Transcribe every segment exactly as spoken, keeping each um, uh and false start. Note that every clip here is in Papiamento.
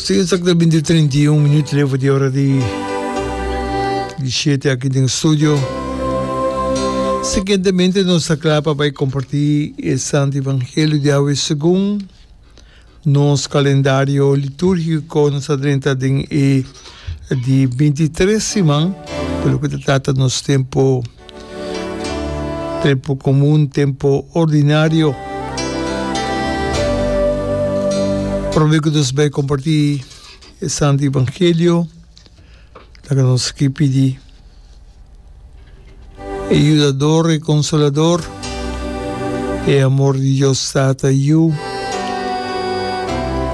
Sí, exactamente trinta i un minuut leva di ora di di shete aki den studio. Siguientemente nos ta kla pa bai kompartí e Santo Evangelio di awe segun nos kalendario litúrgiko. Nos ta drenta den e di binti tres siman pa loke ta trata nos tempo Tempu komun, tempu ordinario. Promé ku nos bai kompartí e Santu Evangelio, laga nos ki pidi e Yudador, e Konsolador, e amor di Dios Tata i Yu,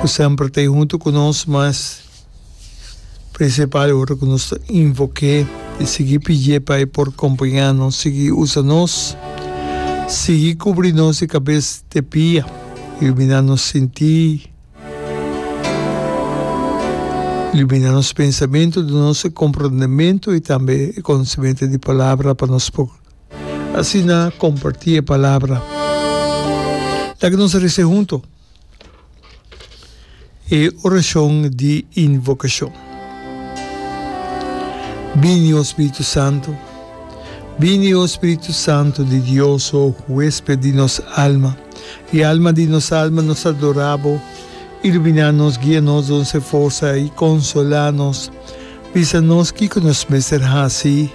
ku semper ta ei huntu ku nos, mas Prinsipal ora ku nos ta invok'é i sigui pidié pa e por kompañá nos, sigui usa nos, sigui kubri nos di kabes te pia, iluminá nos sintí, iluminá nos pensamentu, duna nos e komprondementu i tambe e konosementu di Palabra pa nos por asina kompartí e Palabra. Laga nos resa huntu. E orashon di invokashon. Bini, o Spiritu Santu, bini, o Spiritu Santu di Dios, o huesped di nos alma, i alma di nos alma, nos ta adorá Bo. Iluminá nos, guia nos, duna e forsa i konsolá nos. Bisa nos kiko nos mester hasi.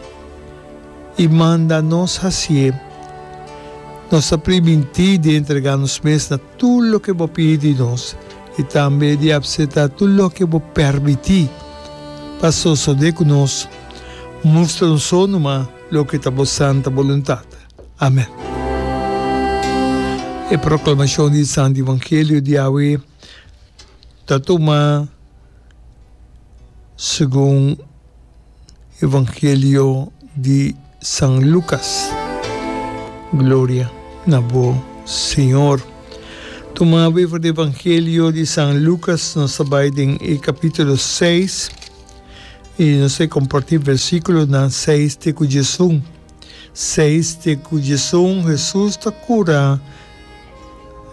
I manda nos hasié. Nos ta primintí di entregá nos mes na tur loke bo pidi di nos i tambe di apseptá tur loke bo permití pa sosodé ku nos. Mustra nos so numa loke ta bo santa boluntat. Amèn. E proklamashon di Santu Evangelio di awe ta tuma segun. Evangelio di San Lucas. Gloria na bo, Señor. Tuma awe for di Evangelio di San Lucas, nos ta bai den e capítulo seis y nos ta comparti versículonan seis te cu diesun. Seis te cu diesun, Jesus ta cura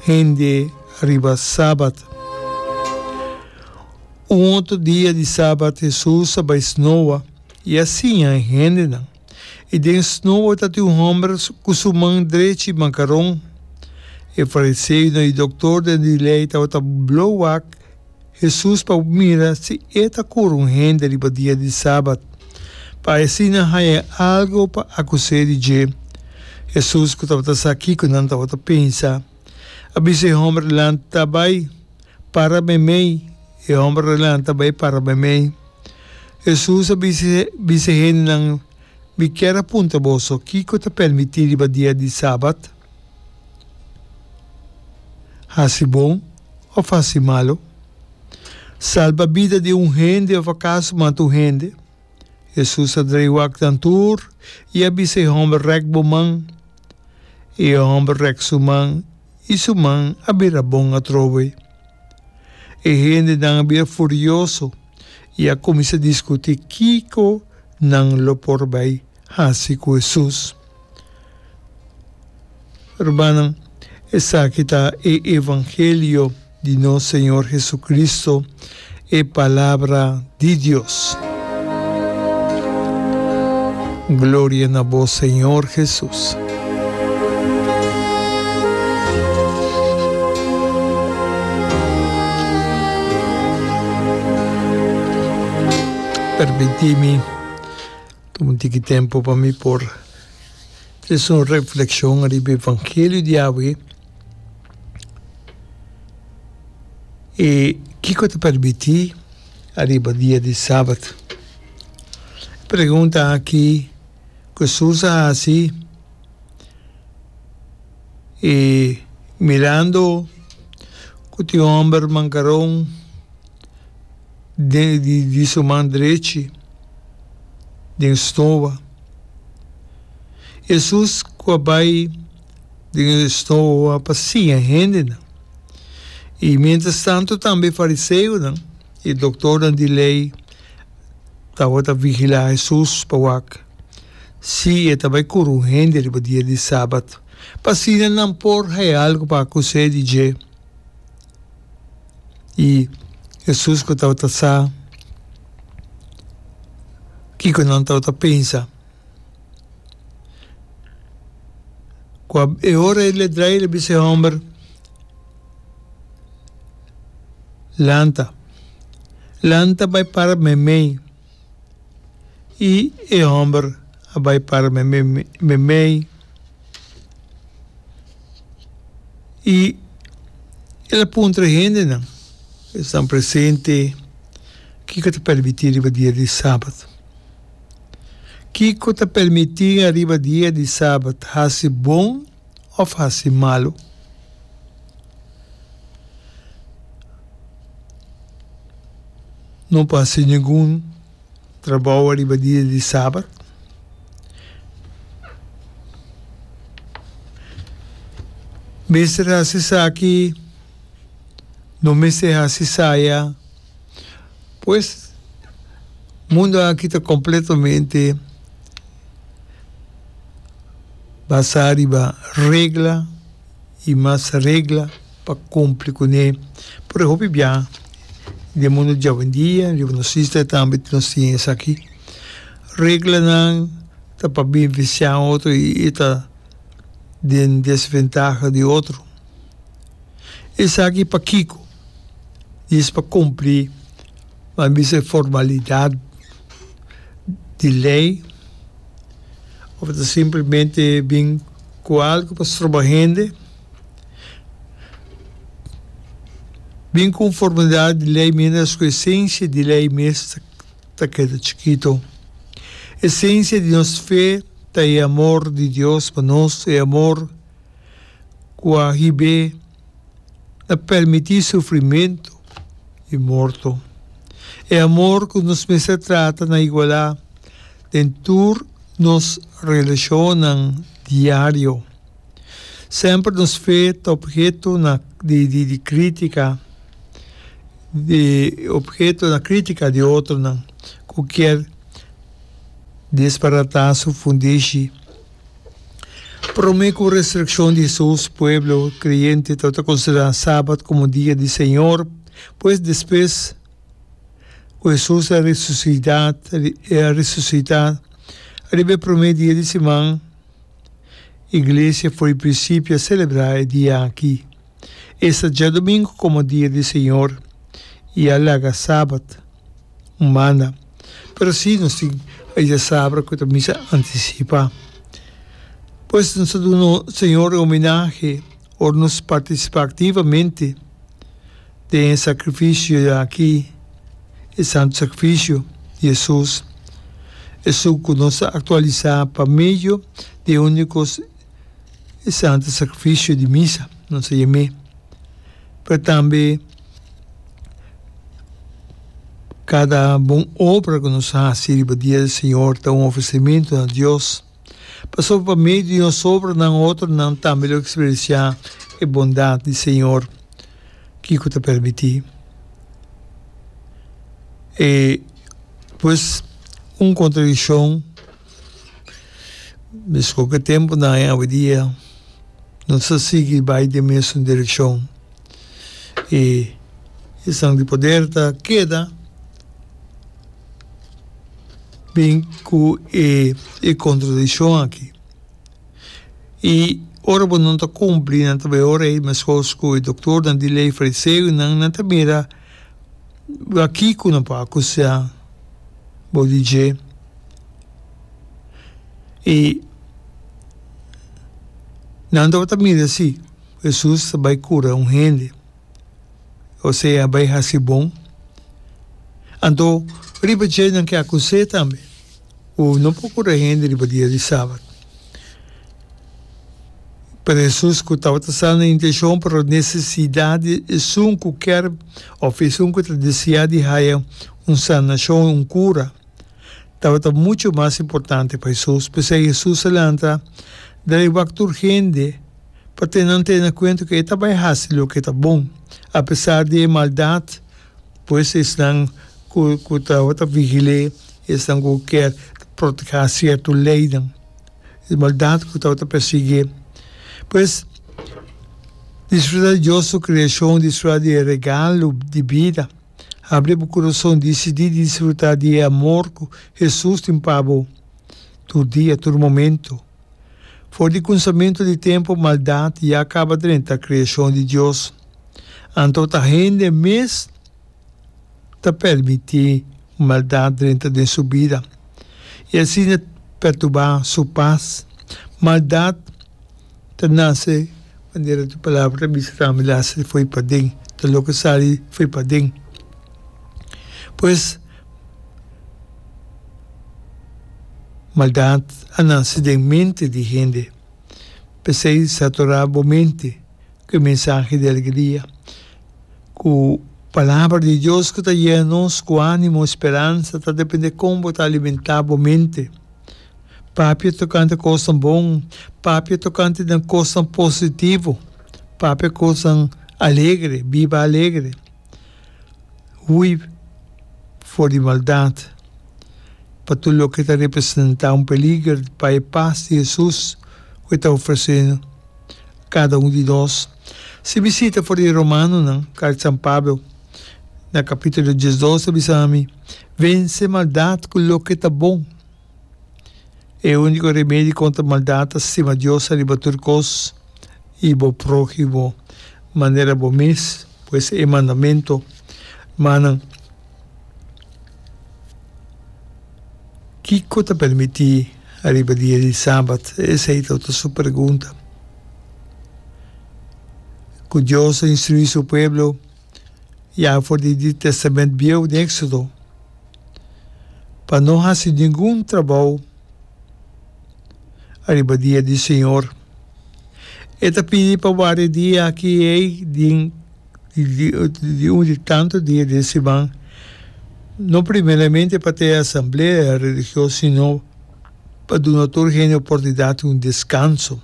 hende riba Sabat. Un otro dia di sabat Hesus a bai snoa i a siña e hendenan. I den snoa tatin un hòmber ku su man drechi makaron. E fariseonan i doktornan di lei tabata blo wak Hesus pa mira si e ta kura un hende riba dia di sabat, pa asina haña algu pa akus'é di dje. Hesus, ku tabata sa kiko nan tabata pensa, a bisa e hòmber, Lanta bai. Para meimei, e hòmber a lanta bai para meimei. Hesus a bisa bisa e hendenan, Mi kier a puntra boso, kiko ta permití riba dia di sabat? Hasi bon òf hasi malu? Salba bida di un hende òf akaso mata un hende? Hesus a drei wak nan tur i a bisa e hòmber, Rèk bo man. E hòmber rèk su man i su man a bira bon atrobe. E hendenan a bira furioso i a kuminsá diskutí kiko nan lo por bai hasi ku Hesus. Rumannan, esaki ta e evangelio di nos Señor Jesucristo, e Palabra di Dios. Gloria na bo, Señor Jesus. Permití mi tuma un tiki tempu pa mi por trese un reflexion riba evangelio di awe. I kiko ta permití ariba dia di Sabat? E pregunta aki ku Hesus a hasi i mirando ku tin un hòmber mankaron den di su man drechi den snoa. Hesus ku a bai den e snoa pa siña hendenan. I miéntras tantu tambe e fariseonan i doktornan di lei tabata vigilá Hesus pa wak si e ta bai kura un hende riba dia di sabat, pa asina nan por haña algu pa akus'é di dje. I Hesus ku tabata sa kiko nan tabata pensa. Ku e ora el a drai el a bisa e hòmber, Lanta, lanta bai para meimei. I e hòmber a bai para meimei. I el a puntra e hendenan esnan presente, Kiko ta permití riba dia di sabat? Kiko ta permití ariba dia di sabat, hasi bon òf hasi malu? No por hasi ningun trabou ariba dia di sabat. Mester hasi esaki, no mester hasi esaya. Pues, mundu aki ta kompletamente basá riba regla i mas regla pa kumpli kuné. Por e hopi bia den mundu djawendia riba nos isla tambe nos tin esaki. Reglanan ta pa benefisiá otro i ta den desventaha di otro. Esaki pakiko? Dis pa kumpli, ban bisa e formalidat di lei òf ta simplemente bin ku algu pa stroba hende? Bin ku un formalidat di lei miéntras ku esensia di lei mes ta keda chikitu. Esensia di nos fe ta e amor di Dios pa nos, e amor ku a hib'é na permití sufrimentu i morto. E amor ku nos mester trata na igualá den tur nos relashonnan diario. Semper nos fe ta obheto na di di krítika di obheto na krítika di otronan ku kier desbaratá su fundeshi. Promé ku resurekshon di Hesus, pueblo kreyente tabata konsiderá Sabat komo dia di Señor. Pues despues ku Hesus a resusitá, a resusitá riba e promé dia di siman, iglesia for di prinsipio a selebrá e dia aki, esta djadumingu, komo dia di Señor i a laga Sabat un banda. Pero si nos tin e djasabra ku ta misa antisipá. Pues nos ta duna Señor e homenahe ora nos partisipá aktivamente den e sakrifisio aki, e santu sakrifisio di Hesus, esun ku nos ta aktualisá pa medio di e úniko e santu sakrifisio di misa, nos ta yam'é. Pero tambe kada bon obra ku nos hasi riba dia di Señor ta un ofresimentu na Dios, pasobra pa medio di nos obranan otronan tambe lo eksperensiá e bondat di Señor. Kiko ta permití? E pues un kontradikshon meskos ku e tempunan awendia. Nos ta sigui bai den mesun direkshon i esnan di poder ta keda bin ku e e kontradikshon aki. I ora bo no ta kumpli nan ta bai ora ei meskos ku e doktornan di lei fariseonan nan ta mira kiko nan por akusá bo di dje. I nan tabata mira si Hesus ta bai kura un hende, osea bai hasi bon. Anto riba dje nan ke akus'é tambe ku no por kura hende riba dia di sabat. Pero Hesus ku tabata sa nan intenshon pero nesesidat di esun ku kier òf esun ku ta deseá di haya un sanashon, un kura, tabata muchu mas importante pa Hesus. P'esei Hesus a lanta drai wak tur hende pa tene nan tene na kuenta ku e ta bai hasi loke ta bon, apesar di e maldat. Pues esnan ku ku tabata vigil'é, esnan ku kier protehá sierto leinan, e maldat ku tabata persiguié. Pues, disfrutá di Dios su kreashon, disfrutá di e regalo di bida. Habri bo kurason, disidí di disfrutá di e amor ku Hesus tin pa bo tur dia, tur momento. For di kunsamentu di tempu, maldat ya kaba drenta kreashon di Dios. Anto ta hende mes ta permití maldat drenta den su bida i asina perturbá su pas. Maldat ta nase, manera tu palabra ta bisa tambe, nase fo'i paden, ta loke sali fo'i paden. Pues, maldat a nase den mente di hende. P'esei saturá bo mente ku e mensahe di alegria, ku Palabra di Dios ku ta yena nos ku ánimo i speransa. Ta dependé kon bo ta alimentá bo mente. Papia tokante kosnan bon, papia tokante den kosnan positivo, papia kosnan alegre, biba alegre. Hui for di maldat, pa tur loke ta representá un peliger pa e pas di Hesus ku e ta ofresé kada un di nos. Si bisita for di Romanonan, karta di San Pablo na kapítulo diesdos ta bisa mi, Vense maldat ku loke ta bon. E úniko remedi kontra maldat ta stima Dios ariba tur kos i bo próhimo manera bo mes, pues e mandamentu. Manan, kiko ta permití ariba dia di Sabat? Esei tabata su pregunta. Ku Dios a instruí su pueblo ya for di di Testament Bieu den Éxodo pa no hasi ningun trabou ariba dia di Señor. E ta pidi pa warda e dia aki ei den di un di tantu dia den siman, no primeramente pa ta e asamblea religioso sino pa duna tur hende oportunidat di un deskanso.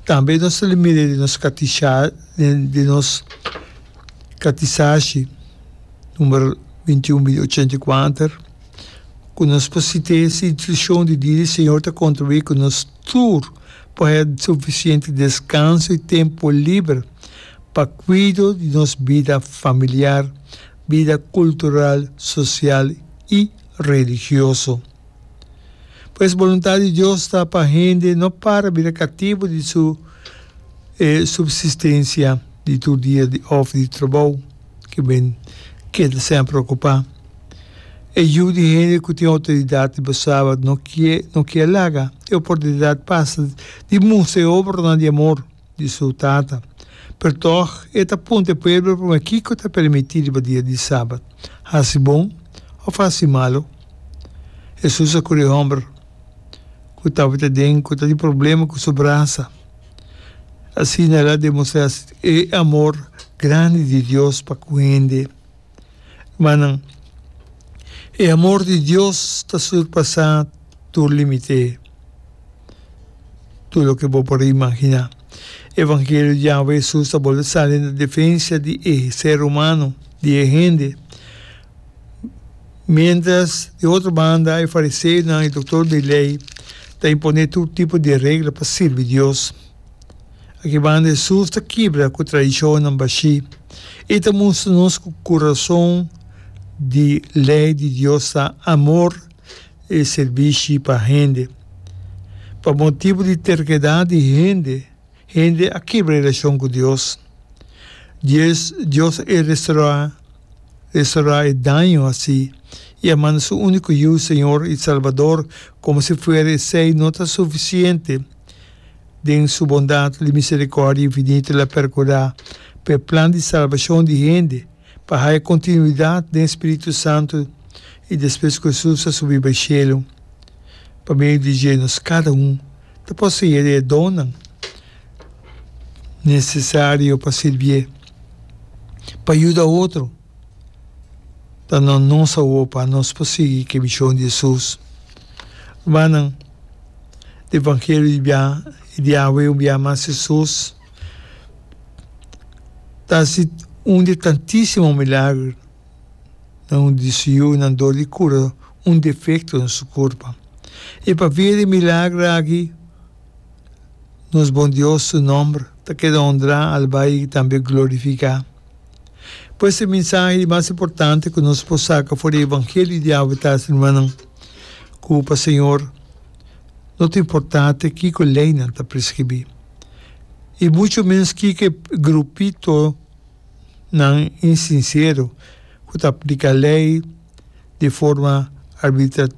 Tambe nos ta mira den nos katisha den nos katisashi number binti un ochenta i kuater ku nos por site es instrukshon di dia di Señor ta kontribuí ku nos tur por haya sufisiente deskanso i tempu liber pa kuido di nos bida familiar, bida kultural, sosial i religioso. Pues boluntat di Dios ta pa hende no para bira katibu di su e supsistensia di tur dia di òf di trabou ke ben keda semper okupá. E yu di hende ku tin outoridat riba sabat no kie no kier laga e oportunidat pasa di mustra e obranan di amor di su Tata. Pero tòg e ta puntra e pueblo promé kiko ta permití riba dia di sabat, hasi bon òf hasi malu. Hesus a kura e hòmber ku tabata den ku ta tin problema ku su brasa. Asina el a demostrá e amor grandi di Dios pa ku hende. Hermannan, e amor di Dios ta surpasá tur límite, tur loke bo por imaginá. Evangelio di awe Hesus ta bolbe sali na defensa di e ser humano, di e hende. Miéntras, di otro banda, e fariseonan i doktor di lei ta imponé tur tipo di regla pa sirbi Dios. Aki banda Hesus ta kibra ku tradishonnan bashí i ta mustra nos ku kurason di lei di Dios ta amor i sirbishi pa hende. Pa motibu di terkedat di hende, hende a kibra relashon ku Dios. Dios Dios a restorá restorá e daño hasí i a manda su úniko Yu, Señor i Salbador, komo si fuera esei no ta sufisiente. Den su bondat di misericordia infinito el a percura pa e plan di salbacion di hende pa haya continuidad den Spiritu Santo y despues cu Jesus a subi bay cielo. Pa medio di dje nos cada un ta posee di e donnan necesario pa sirbié, pa yuda otro. Ta na nos awor pa nos por sigui ku e mishon di Hesus. Rumannan, di evangelio di bia di awe un bia mas Hesus ta hasi un di tantísimo milager na un di su yunan dor di kura un defekto na su kurpa. I pa via di e milager aki nos bon Dios su nòmber ta keda honrá, alabá i tambe glorifiká. Pues e mensahe mas importante ku nos por saka for di Evangelio di awe ta, rumannan, ku pa Señor no ta importante kiko leinan ta preskribí. I muchu ménos kiko grupitonan insinsero ku ta apliká lei di forma arbitrario,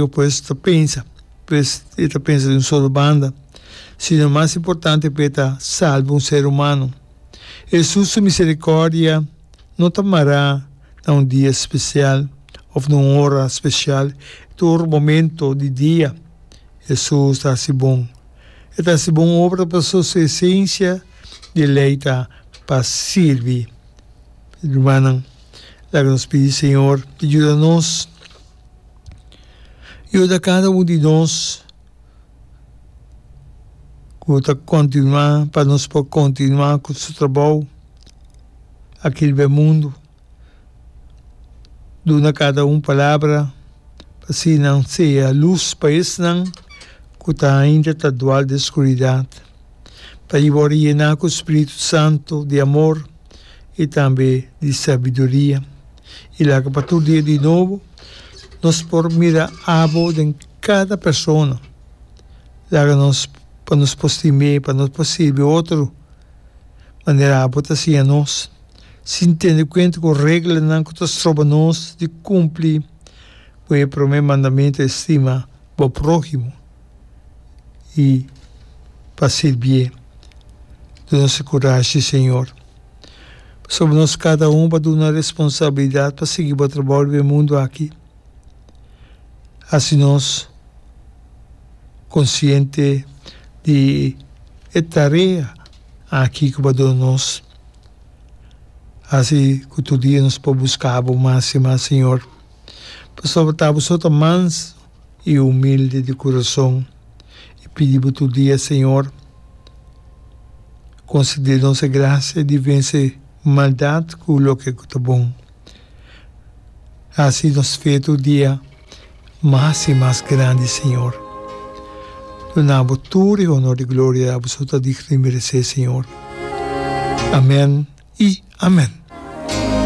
pues ta pensa, pues e ta pensa di un solo banda, sino mas importante p'e ta salba un ser humano. Hesus su miserikòrdia no ta mará na un dia spesial òf na un ora spesial. Tur momento di dia Hesus ta hasi bon. E ta hasi bon obra pasobra su esensia di lei ta pa sirbi. Rumannan, laga nos pidi Señor pa yuda nos, yuda kada un di nos ku ta kontinuá, pa nos por kontinuá ku su trabou aki riba e mundu. Duna kada un palabra pa asina nan sea lus pa esnan ku ta ainda ta dual den skuridat, pa i wòrdu yená ku Spiritu Santu di amor i tambe di sabiduria. I laga pa tur dia di nobo nos por mira abo den kada persona. Laga nos pa nos por stim'é, pa nos por sirbi otro manera abo ta siña nos, sin tene kuenta ku reglanan ku ta stroba nos di kumpli ku e promé mandamentu, estima bo próhimo i pa sirbié. Duna nos e kurashi, Señor. Pasobra nos kada un bo a duna responsabilidat pa sigui bo trabou riba e mundu aki. Hasi nos konsiente di e tarea aki ku bo a duna nos. Hasi ku tur dia nos por buska bo mas i mas, Señor. Pasobra ta bo so ta manso i humilde di kurason. I pidi bo tur dia, Señor, konsede nos e grasia di vense maldat ku loke ku ta bon. Hasi nos fe tur dia mas i mas grandi, Señor. Duna bo tur e honor i gloria abo so ta digno i meresé, Señor. Amen i amen.